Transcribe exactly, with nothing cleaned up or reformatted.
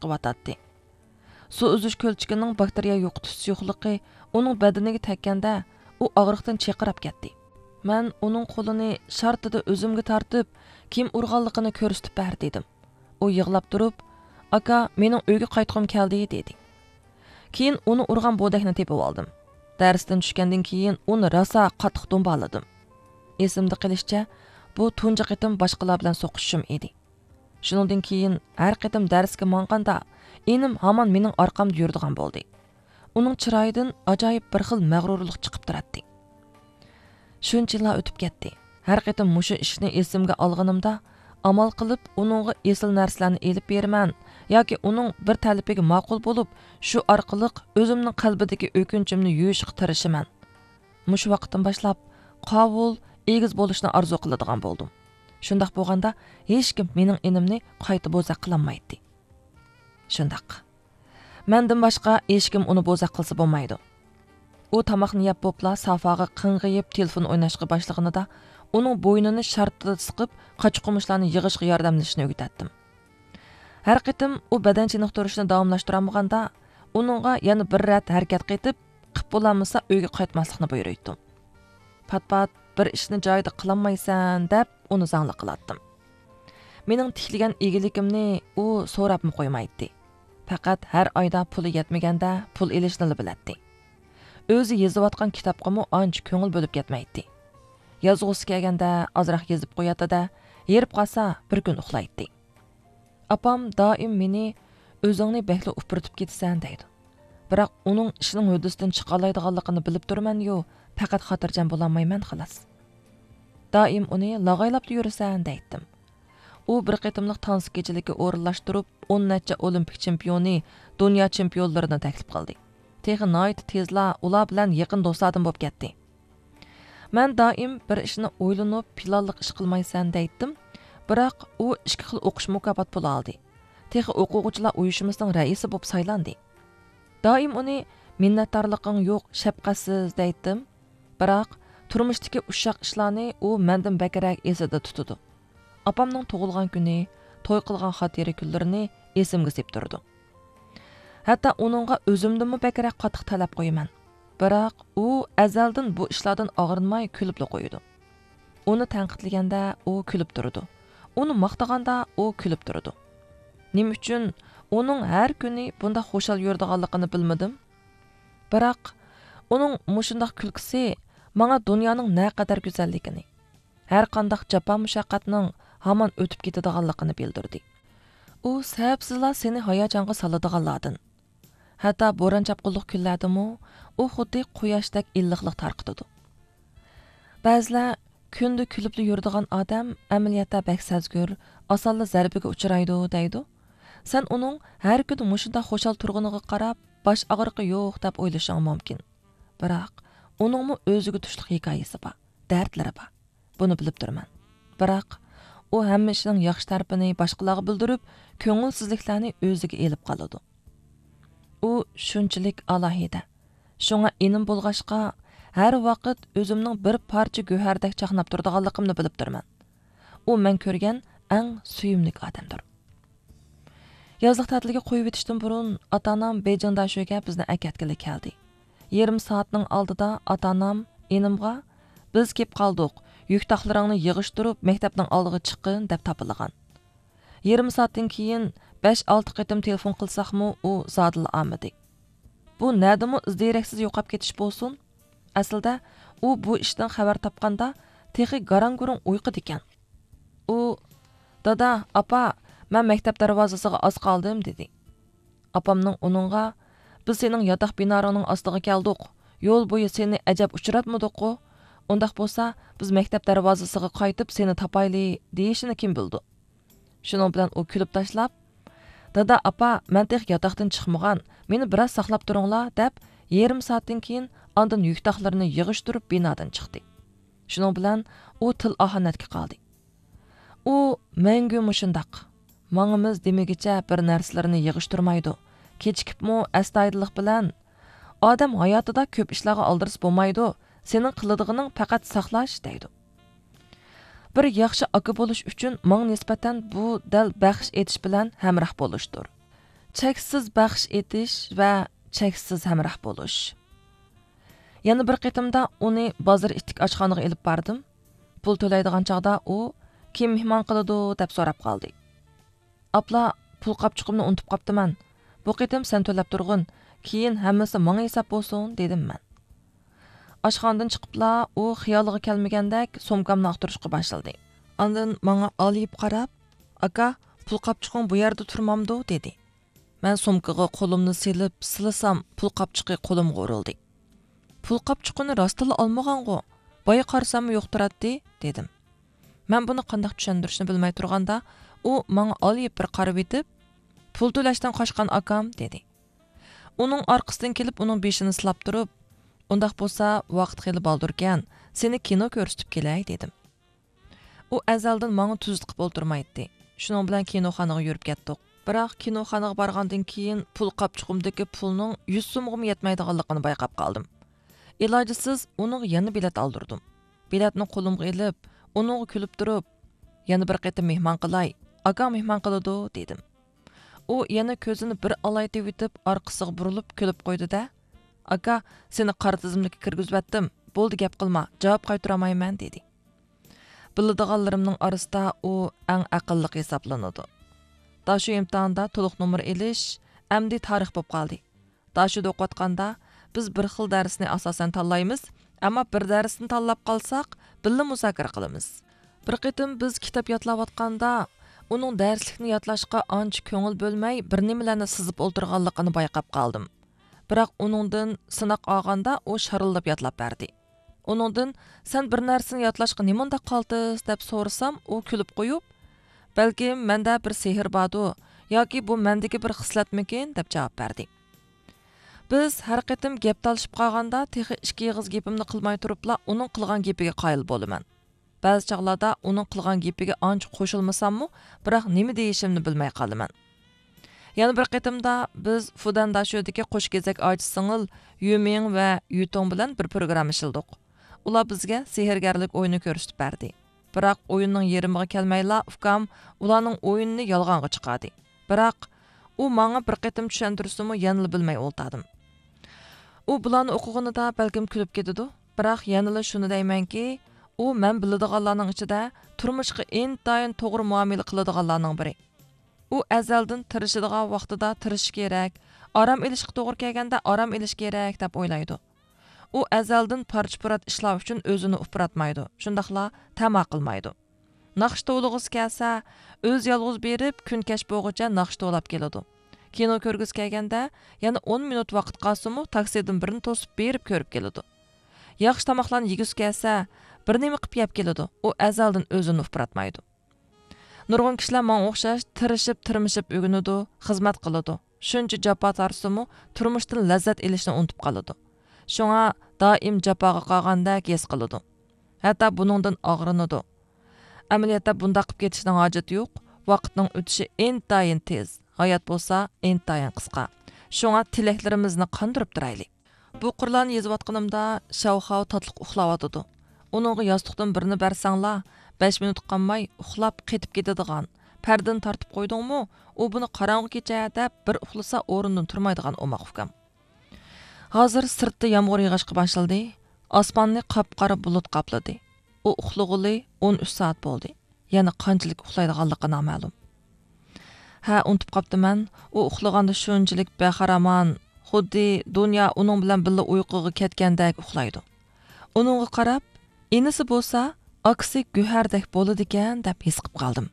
چىقىۋاتاتتى. سۇ ئۈزۈش كۆلچىكىنىڭ باكتېرىيە يوقىتىش سۇيۇقلۇقى ئۇنىڭ بەدىنىگە تەگكەندە، ئۇ ئاغرىقتىن چىرقىراپ كەتتى. مەن ئۇنىڭ قولىنى شارتىدا ئۆزۈمگە تارتىپ، كىم ئۇرغانلىقىنى كۆرسىتىپ بەر، دېدىم. ئۇ يىغلاپ تۇرۇپ، ئاكا، مېنىڭ ئۆيگە قايتقۇم كەلدى، دېدى. كېيىن ئۇنى ئۇرغان بودەكنى تېپىۋالدىم. دەرستىن چۈشكەندىن كېيىن ئۇنى راسا قاتتىق دومبالىدىم. ئېسىمدە قېلىشىچە، بۇ تۇنجى قېتىم باشقىلار بىلەن سوقۇشۇشۇم ئىدى. شۇنىڭدىن كېيىن ھەر قېتىم دەرسكە ماڭغاندا، ئىنىم ھامان مېنىڭ ئارقامدا يۈرىدىغان بولدى. ئۇنىڭ چىرايىدىن ئاجايىپ بىر خىل مەغرۇرلۇق چىقىپ تۇراتتى. شۇنچە يىللار ئۆتۈپ كەتتى. ھەر قېتىم مۇشۇ ئىشنى ئېسىمگە ئالغىنىمدا، ئامال قىلىپ ئۇنىڭغا ئېسىل نەرسىلەرنى ئېلىپ بېرىمەن ياكى ئۇنىڭ بىر تەلىپىگە ماقۇل بولۇپ، شۇ ئارقىلىق ئۆزۈمنىڭ قەلبىدىكى ئۆكۈنچۈمنى يۇيۇشقا تىرىشىمەن. مۇشۇ ۋاقىتتىن باشلاپ قاۋۇل، ئېگىز بولۇشنى ئارزۇ قىلىدىغان بولدۇم. شۇنداق بولغاندا، ھېچكىم مېنىڭ ئىنىمنى قايتا بوزەك قىلالمايتتى. شۇنداق. مەندىن باشقا ھېچكىم ئۇنى بوزەك قىلسا بولمايدۇ. ئۇ تاماقنى يەپ بوپلا سافاغا قىڭغىيىپ تېلېفون ئويناشقا باشلىغىنىدا، ئۇنىڭ بوينىنى شارتىدا سىقىپ، قاچا-قۇمۇچلارنى يىغىشقا ياردەملىشىشنى ئۆگىتەتتىم. ھەر قېتىم ئۇ بەدەن چېنىقتۇرۇشنى داۋاملاشتۇرالمىغاندا، ئۇنىڭغا يەنە بىر رەت ھەرىكەت قېتىپ، قىپ بولالمىسا ئۆيگە قايتماسلىقنى بۇيرۇيتتۇم. پات-پات بىر ئىشنى جايىدا قىلالمايسەن دەپ ئۇنى زاڭلىق قىلاتتىم. مېنىڭ تىكلىگەن ئىگىلىكىمنى ئۇ سوراپمۇ قويمايتتى. پەقەت ھەر ئايدا پۇلى يەتمىگەندە پۇل ئېلىشنىلا بىلەتتى. ئۆزى يېزىۋاتقان كىتابقىمۇ ئانچە كۆڭۈل بۆلۈپ كەتمەيتتى. يازغۇسى كەلگەندە ئازراق يېزىپ قوياتتى-دە، ھېرىپ قالسا بىر كۈن ئۇخلايتتى. ئاپام دائىم مېنى «ئۆزۈڭنى بەكلا ئۇپرىتىپ كېتىسەن» دەيدۇ. بىراق ئۇنىڭ ئىشنىڭ ھۆددىسىدىن چىقالايدىغانلىقىنى بىلىپ تۇرىمەن-يۇ، پەقەت خاتىرجەم بولالمايمەن خالاس. دائىم ئۇنى لاغايلاپلا يۈرىسەن دەيتتىم. ئۇ بىر قېتىملىق تانسا كېچىلىكى ئورۇنلاشتۇرۇپ، ئون نەچچە ئولىمپىك چېمپىيونى، دۇنيا چېمپىيونلىرىنى تەكلىپ قىلدى. تېخى ناھايىتى تېزلا ئۇلار بىلەن يېقىن دوستلاردىن بولۇپ كەتتى. مەن دائىم بىر ئىشنى ئويلىنىپ، پىلانلىق ئىش قىلمايسەن دەيتتىم، بىراق ئۇ ئىككى خىل ئوقۇش مۇكاپات پۇلى ئالدى. تېخى ئوقۇغۇچىلار ئۇيۇشمىسىنىڭ رەئىسى بولۇپ سايلاندى. دائىم ئۇنى «مىننەتدارلىقىڭ يوق، شەپقەتسىز» دەيتتىم، بىراق تۇرمۇشتىكى ئۇششاق ئىشلارنى ئۇ مەندىن بەكرەك ئېسىدە تۇتىدۇ. ئاپامنىڭ تۇغۇلغان كۈنى، توي قىلغان خاتىرە كۈنلىرىنى ئېسىمگە سېلىپ تۇرىدۇ. ھەتتا ئۇنىڭغا ئۆزۈمدىنمۇ بەكرەك قاتتىق تەلەپ قويىمەن. بىراق ئۇ ئەزەلدىن بۇ ئىشلاردىن ئاغرىنماي كۈلۈپلا قويىدۇ. ئۇنى تەنقىدلىگەندە ئۇ كۈلۈپ تۇرىدۇ. ئۇنى ماختىغاندا ئۇ كۈلۈپ تۇرىدۇ. نېمە ئۈچۈن ئۇنىڭ ھەر كۈنى بۇنداق خۇشال يۈرىدىغانلىقىنى بىلمىدىم. بىراق ئۇنىڭ مۇشۇنداق كۈلكىسى ماڭا دۇنيانىڭ نەقەدەر گۈزەللىكىنى، ھەر قانداق جاپا-مۇشەققەتنىڭ ھامان ئۆتۈپ كېتىدىغانلىقىنى بىلدۈردى. ئۇ سەۋەبسىزلا سېنى ھاياجانغا سالىدىغانلاردىن. ھەتتا بوران-چاپقۇنلۇق كۈنلەردىمۇ ئۇ خۇددى قۇياشتەك ئىللىقلىق تارقىتىدۇ. بەزىلەر «كۈندە كۈلۈپلا يۈرىدىغان ئادەم ئەمەلىيەتتە بەك سەزگۈر، ئاسانلا زەربىگە ئۇچرايدۇ» دەيدۇ. سەن ئۇنىڭ ھەر كۈنى مۇشۇنداق خۇشال تۇرغىنىغا قاراپ، باش ئاغرىقى يوق دەپ ئويلىشىڭ مۇمكىن. بىراق ئۇنىڭمۇ ئۆزىگە تۇشلۇق ھېكايىسى بار، دەردلىرى بار. بۇنى بىلىپ تۇرىمەن. بىراق ئۇ ھەممە ئىشنىڭ ياخشى تەرىپىنى باشقىلارغا بىلدۈرۈپ، كۆڭۈلسىزلىكلەرنى ئۆزىگە ئېلىپ قالىدۇ. ئۇ شۇنچىلىك ئالاھىدە. شۇڭا ئىنىم بولغاچقا، ھەر ۋاقىت ئۆزۈمنىڭ بىر پارچە گۆھەردەك چاقناپ تۇرىدىغانلىقىمنى بىلىپ تۇرىمەن. ئۇ مەن كۆرگەن ئەڭ سۆيۈملۈك ئادەمدۇر. يازلىق تەتىلگە قويۇۋېتىشتىن بۇرۇن ئاتا-ئانام بېيجىڭ داشۆگە بىزنى ئەكەتكىلى كەلدى. يېرىم سائەتنىڭ ئالدىدا ئاتا-ئانام ئىنىمغا، «بىز كېلىپ قالدۇق، يۈك-تاقلىرىڭنى يىغىشتۇرۇپ مەكتەپنىڭ ئالدىغا چىققىن» دەپ تاپىلىغان. يېرىم سائەتتىن كېيىن بەش-ئالتە قېتىم تېلېفون قىلساقمۇ ئۇ زادىلا ئالمىدى. بۇ نەدىمۇ ئىز-دېرەكسىز يوقاپ كېتىش بولسۇن؟ ئەسلىدە ئۇ بۇ ئىشتىن خەۋەر تاپقاندا تېخى گاراڭ-گۇرۇڭ ئۇيقۇدىكەن. ئۇ، «دادا، ئاپا، مەن مەكتەپ دەرۋازىسىغا ئاز قالدىم» دېدى. ئاپامنىڭ ئۇنىڭغا، «بىز سېنىڭ ياتاق بىنارىڭنىڭ ئاستىغا كەلدۇق، يول بويى سېنى ئەجەب ئۇچراتمىدۇققۇ؟ ئۇنداق بولسا بىز مەكتەپ دەرۋازىسىغا قايتىپ سېنى تاپايلى» دېيىشىنى كىم بىلىدۇ؟ شۇنىڭ بىلەن ئۇ كۈلۈپ تاشلاپ، «دادا، ئاپا، مەن تېخى ياتاقتىن چىقمىغان، مېنى بىراز ساقلاپ تۇرۇڭلار» دەپ، يېرىم سائەتتىن كېيىن ئاندىن يۈك-تاقلىرىنى يىغىشتۇرۇپ بىنادىن چىقتى. شۇنىڭ بىلەن ئۇ تىل ئاھانەتكە قالدى. ئۇ مەڭگۈ مۇشۇنداق. ماڭىمىز دېمىگىچە بىر نەرسىلىرىنى يىغىشتۇرمايدۇ. كېچىكىپمۇ ئەستايىدىللىق بىلەن، «ئادەم ھاياتىدا كۆپ ئىشلارغا ئالدىرىسا بولمايدۇ، سېنىڭ قىلىدىغىنىڭ پەقەت ساقلاش» دەيدۇ. بىر ياخشى ئاكا بولۇش ئۈچۈن ماڭا نىسبەتەن بۇ دەل بەخش ئېتىش بىلەن ھەمراھ بولۇشتۇر. چەكسىز بەخش ئېتىش ۋە چەكسىز ھەمراھ بولۇش. يەنە بىر قېتىمدا ئۇنى بازار ئىتتىك ئاشخانىغا ئېلىپ باردىم. پۇل تۆلەيدىغان چاغدا ئۇ، «كىم مېھمان قىلىدۇ؟» دەپ سوراپ قالدى. «ئاپلا، پۇل قاپچۇقۇمنى ئۇنتۇپ قاپتىمەن. بۇ قېتىم سەن تۆلەپ تۇرغىن، كېيىن ھەممىسى ماڭا ھېساب بولسۇن» دېدىم مەن. ئاشخانىدىن چىقىپلا ئۇ خىيالىغا كەلمىگەندەك سومكامنى ئاختۇرۇشقا باشلىدى. ئاندىن ماڭا ئالىيىپ قاراپ، «ئاكا، پۇل قاپچۇقۇڭ بۇ يەردە تۇرمامدۇ؟» دېدى. مەن سومكىغا قولۇمنى سېلىپ سىلىسام، پۇل قاپچۇقى قولۇمغا ئۇرۇلدى. «پۇل قاپچۇقىنى راستتىنلا ئالمىغانغۇ؟ بايا قارىساممۇ يوق تۇراتتى» دېدىم. مەن بۇنى قانداق چۈشەندۈرۈشنى بىلمەي تۇرغاندا، ئۇ ماڭا ئالىيىپ بىر قارىۋېتىپ، «پۇل تۆلەشتىن قاچقان ئاكام» دېدى. ئۇنىڭ ئارقىسىدىن كېلىپ ئۇنىڭ بېشىنى سىلاپ تۇرۇپ، «ئۇنداق بولسا ۋاقىت خېلى بالدۇركەن، سېنى كىنو كۆرسىتىپ كېلەي» دېدىم. ئۇ ئەزەلدىن ماڭا تۈزۈت قىپ ئولتۇرمايتتى. شۇنىڭ بىلەن كىنوخانىغا يۈرۈپ كەتتۇق. بىراق كىنوخانىغا بارغاندىن كېيىن پۇل قاپچۇقۇمدىكى پۇلنىڭ يۈز سومغىمۇ يەتمەيدىغانلىقىنى بايقاپ قالدىم. ئىلاجسىز ئۇنىڭغا يەنە بېلەت ئالدۇردۇم. بېلەتنى قولۇمغا ئېلىپ، ئۇنىڭغا كۈلۈپ تۇرۇپ، «يەنە بىر قېتىم مېھمان قىلاي، ئاكاڭ مېھمان قىلىدۇ» دېدىم. ئۇ يەنە كۆزىنى بىر ئالايتىۋېتىپ ئارقىسىغا بۇرۇلۇپ كۈلۈپ قويدى-دە، «ئاكا، سېنى قارا تىزىملىككە كىرگۈزۈۋەتتىم، بولدى گەپ قىلما، جاۋاب قايتۇرالمايمەن» دېدى. بىلىدىغانلىرىمنىڭ ئارىسىدا ئۇ ئەڭ ئەقىللىق ھېسابلىنىدۇ. داشۆ ئىمتىھانىدا تولۇق نومۇر ئېلىش ئەمدى تارىخ بولۇپ قالدى. داشۆدا ئوقۇۋاتقاندا بىز بىر خىل دەرسنى ئاساسەن تاللايمىز، ئەمما بىر دەرسنى تاللاپ قالساق، بىللە مۇزاكىرە قىلىمىز. بىر قېتىم بىز كىتاب يادلاۋاتقاندا، ئۇنىڭ دەرسلىكنى يادلاشقا ئانچە كۆڭۈل بۆلمەي، بىر نېمىلەرنى سىزىپ ئولتۇرغانلىقىنى بايقاپ قالدىم. بىراق ئۇنىڭدىن سىناق ئالغاندا ئۇ شارىلداپ يادلاپ بەردى. ئۇنىڭدىن، «سەن بىر نەرسىنى يادلاشقا نېمانداق قالتىس؟» دەپ سورىسام، ئۇ كۈلۈپ قويۇپ، «بەلكىم مەندە بىر سېھىر باردۇ، ياكى بۇ مەندىكى بىر خىسلەتمىكىن؟» دەپ جاۋاب بەردى. بىز ھەر قېتىم گەپ تالىشىپ قالغاندا تېخى ئىككى ئېغىز گېپىمنى قىلماي تۇرۇپلا ئۇنىڭ قىلغان گېپىگە قايىل بولىمەن. بەزى چاغلاردا ئۇنىڭ قىلغان گېپىگە ئانچە قوشۇلمىساممۇ، بىراق نېمە دېيىشىمنى بىلمەي قالىمەن. يەنە بىر قېتىمدا بىز فۇدەن داشۆدىكى قوش كېزەك ئاچا سىڭىل يۈمىڭ ۋە يۈتوڭ بىلەن بىر پروگرامما ئىشلىدۇق. ئۇلار بىزگە سېھىرگەرلىك ئويۇنى كۆرسىتىپ بەردى. بىراق ئويۇننىڭ يېرىمىغا كەلمەيلا ئۇكام ئۇلارنىڭ ئويۇنىنى يالغانغا چىقاردى. بىراق ئۇ ماڭا بىر قېتىم چۈشەندۈرسىمۇ يەنىلا بىلمەي ئولتۇردۇم. ئۇ بۇلارنى ئوقۇغىنىدا بەلكىم كۈلۈپ كېتىدۇ، بىراق يەنىلا شۇنى دەيمەنكى، ئۇ مەن بىلىدىغانلارنىڭ ئىچىدە تۇرمۇشقا ئىنتايىن توغرا مۇئامىلە قىلىدىغانلارنىڭ بىرى. ئۇ ئەزەلدىن تىرىشىدىغان ۋاقتىدا تىرىشىش كېرەك، ئارام ئېلىشقا توغرا كەلگەندە ئارام ئېلىش كېرەك دەپ ئويلايدۇ. ئۇ ئەزەلدىن پارچە-پۇرات ئىشلار ئۈچۈن ئۆزىنى ئۇپراتمايدۇ، شۇنداقلا تەما قىلمايدۇ. ناخشا توۋلىغۇسى كەلسە، ئۆزى يالغۇز بېرىپ، كۈن كەچ بولغۇچە ناخشا توۋلاپ كېلىدۇ. كىنو كۆرگۈسى كەلگەندە، يەنە ئون مىنۇت ۋاقىت قالسىمۇ، تاكسىدىن بىرنى توسۇپ بېرىپ كۆرۈپ كېلىدۇ. ياخشى تاماقلارنى يېگۈسى كەلسە، بىر نېمە قىپ يەپ كېلىدۇ. ئۇ ئەزەلدىن ئۆزىنى ئۇپراتمايدۇ. نۇرغۇن كىشىلەر ماڭا ئوخشاش تىرىشىپ، تىرمىشىپ ئۆگىنىدۇ، خىزمەت قىلىدۇ. شۇنچە جاپا تارتسىمۇ، تۇرمۇشتىن لەززەت ئېلىشنى ئۇنتۇپ قالىدۇ. شۇڭا دائىم جاپاغا قالغاندەك ھېس قىلىدۇ. ھەتتا بۇنىڭدىن ئاغرىنىدۇ. ئەمەلىيەتتە بۇنداق قىپ كېتىشنىڭ ھاجىتى يوق. ۋاقىتنىڭ ئۆتۈشى ئىنتايىن تېز، ھايات بولسا ئىنتايىن قىسقا. شۇڭا تىلەكلىرىمىزنى قاندۇرۇپ تۇرايلى. بۇ قۇرلارنى يېزىۋاتقىنىمدا شاۋخاۋ تاتلىق ئۇخلاۋاتىدۇ. ئۇنىڭغا ياستۇقتىن بىرنى بەرسەڭلار، بەش مىنۇت قالماي ئۇخلاپ قېتىپ كېتىدىغان، پەردىنى تارتىپ قويدۇڭمۇ، ئۇ بۇنى قاراڭغۇ كېچە دەپ بىر ئۇخلىسا ئورنىدىن تۇرمايدىغان ئوماق ئۇكام. ھازىر سىرتتا يامغۇر يېغىشقا باشلىدى. ئاسماننى قاپقارا بۇلۇت قاپلىدى. ئۇ ئۇخلىغىلى ئون ئۈچ سائەت بولدى. يەنە قانچىلىك ئۇخلايدىغانلىقى نامەلۇم. ھە، ئۇنتۇپ قاپتىمەن، ئۇ ئۇخلىغاندا شۇنچىلىك بەخىرامان، خۇددى دۇنيا ئۇنىڭ بىلەن بىللە ئۇيقۇغا كەتكەندەك ئۇخلايدۇ. ئۇنىڭغا قاراپ، ئىنىسى بولسا ئاكىسى گۆھەردەك بولىدىكەن دەپ ھېس قىپ قالدىم.